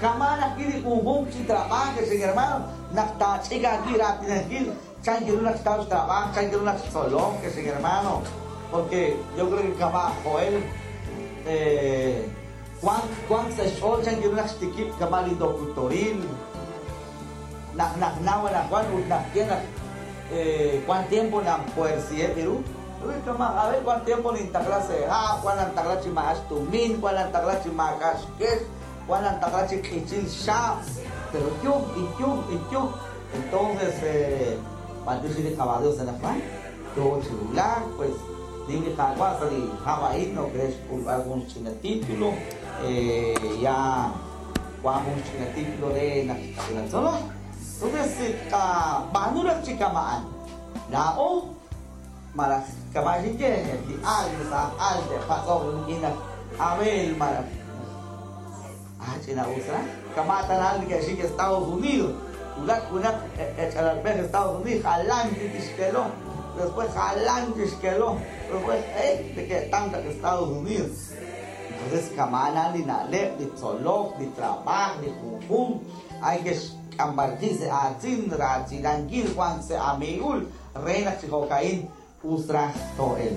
Kama' naq ki li junjunq chi trab'aaj, ex inhermano, naq taach'ik aawib' raatinankil chan ru naq xtaw xtrab'aaj, chan ru naq xtzolok, ex inhermano, porque yo creo que kama' Joel wank wank sa' xch'ool chan ru naq xtikib' kama' li doctoril, naq naqnaw anaqwan ut naq ye naq wan tiempo nanpuersiheb' ru, kama' a ver wan tiempo nintaqla sa' ha', wan nantaqla chi maak'a' xtumin, wan nantaqla chi maak'a' xkex, wan nantaqla chi q'ichil xaab', pero yo y yo y yo. Entonces, b'antiox li Qaawa' Dios anaqwan, yo chi wulak, pues nim li Qaawa' sa' li hab' a'in no re xk'ulb'al jun xch'ina título, ya wan jun xch'ina título re naq xk'ulal. Entonces, qab'aanu raj chi kama'an. Laa'o malaj kama' xinye li al sa' al te'patz'oq rik'in naq Abel malaj ch'ina us raj. Kama' tanal neke'xik Estados Unidos. Wulak junaq ech'alalb'ej Estados Unidos, jalan tixkelo. Después jalan tixkelo. Después neke'tam chaq Estados Unidos. Entonces kama'an li na'leb', li tzolok, li trabaaj, li junjunq. Hay que xk'amb'alkil sa' aatin, raatinankil wan sa' amiigul, re naq chi jo'ka'in us raj to'el.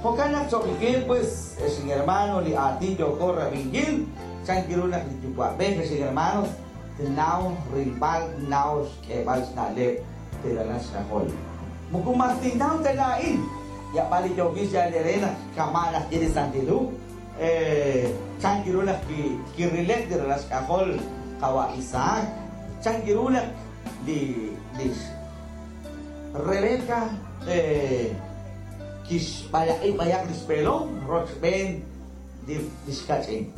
Jo'kan naq cho'qikil, pues, ex hermano, li aatin yooko rab'inkil, chan ru naq li yuwa'b'ej, ex hermanos, tnaw rilb'al, tnaw xk'eeb'al xna'leb' teralal xk'ajol. Muku mas tinnaw ta laa'in, yab'al li yookil xyal ere naq kama' naq ye li Santil Hu, chan ru naq kirileb' li ralal xk'ajol qawa' Isaac, chan ru naq li Rebeca kixb'alaq'i b'ayaq li xpeelom rochb'een li xkach'in.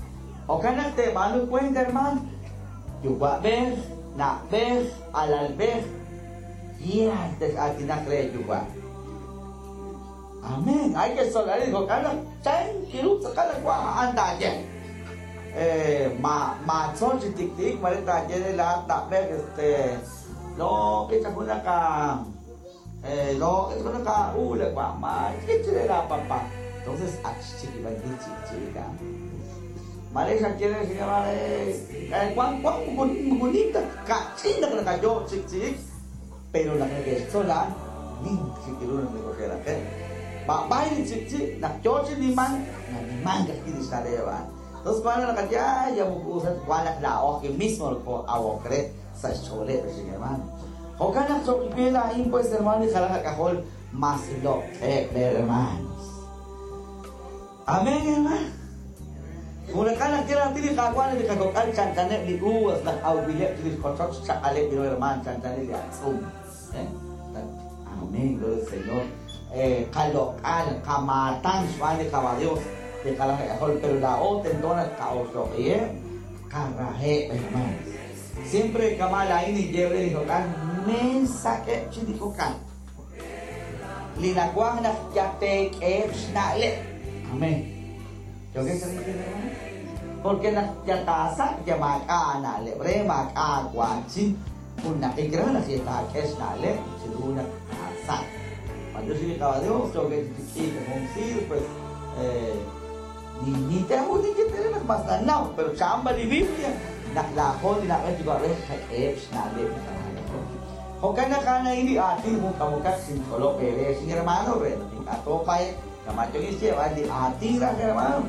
Jo'kan naq teeb'aanu cuenta, hermano, yuwa'b'ej, na'b'ej, alalb'ej, yaal tex'aatinaq re yuwa'. Amén. Hay que solar jo'kan naq chan ru tz'aqal wa a'an taaye. Ma maatzol chi tiktik mare taaye re laat na'b'ej lo que junaq lo junaq ula wa ma re la papá. Entonces ak xchikib'ankil chikchika. Mare xa quiere señor cuan cuan bonita kach'in naq naqayo chikchik, pero naq neke'xtzol nin chikiru naq nekoxeraqe. B'ab'ay li chikchik naq yo chi niman naniman kajwi' li xna'leb' a'an. Entonces cuando naqaya ya muku wan naq laa'o mismo awok re sa' xch'ooleb', hermano. Jo'kan naq cho'qikil a'in, pues, hermano, li jalaj ak'ajol mas loq'eb', hermanos. Amén, hermano. Junaqal naq kiraatin li Qaawa' li qakok'al chanchaneb' li uvas naq awb'ileb' chirix qochoch xchaq'aleb' li hermano chanchaneb' li atz'um. Amén, gloria al Señor. Qaloq'al, qamaatan xb'aan li Qaawa' Dios li qalaj ak'ajol, pero laa'o tento naq qa'oxloq'iheb', qaraheb', hermanos. Siempre kama' laa'in ninye re li kok'al, mesak'eb' chi li kok'al. Li nawaj naq yateek'eheb' xna'leb'. Amén. ¿Yo qué se dice, hermano? Porque naq yataasak' ya maak'a' na'leb' re maak'a' wanchin jun naqik raj naq yataak'e xna'leb' chiru naq taasak'. Cuando yo soy Dios, yo que chiquita con pues ni te hago ni que tener más nanaw, pero chamba li Biblia naq laa'o li na'b'ej yuwa'b'ej qak'eheb' xna'leb' Jo'kan naq a'an li aatin jun k'amokaq xinch'olob' ere xin hermano re naq ink'a' toopay kama' yokixyeeb'al li aatin raj, hermano.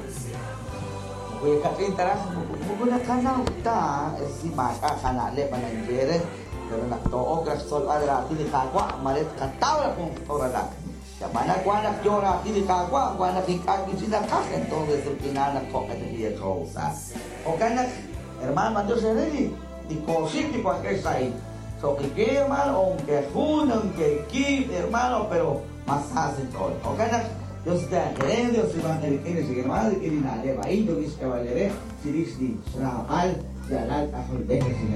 Muku kach'in taraj muku naqanaw ta si maak'a' qana'leb' ananye re, pero naq to'ok raj xtzolb'al raatin li Qaawa' mare tqataw raj jun toralaq. Yab'ana wan naq yo raatin li Qaawa' wan naq ink'a' kichinaqaj, entonces ruk'inal naq jo'q'e taqiyaqowsa. Jo'kan naq, hermano, mandiox ere li kooxik li wankex sa'in. Cho'qike, hermano, aunque jun, aunque kib', hermano, pero mas hacen todo. Jo'kan naq Dios te quiere, Dios iba a tener hermano, rik'in li na'leb' a'in yokix k'eeb'al ere chirix li xraab'al li alal k'ajolb'ej.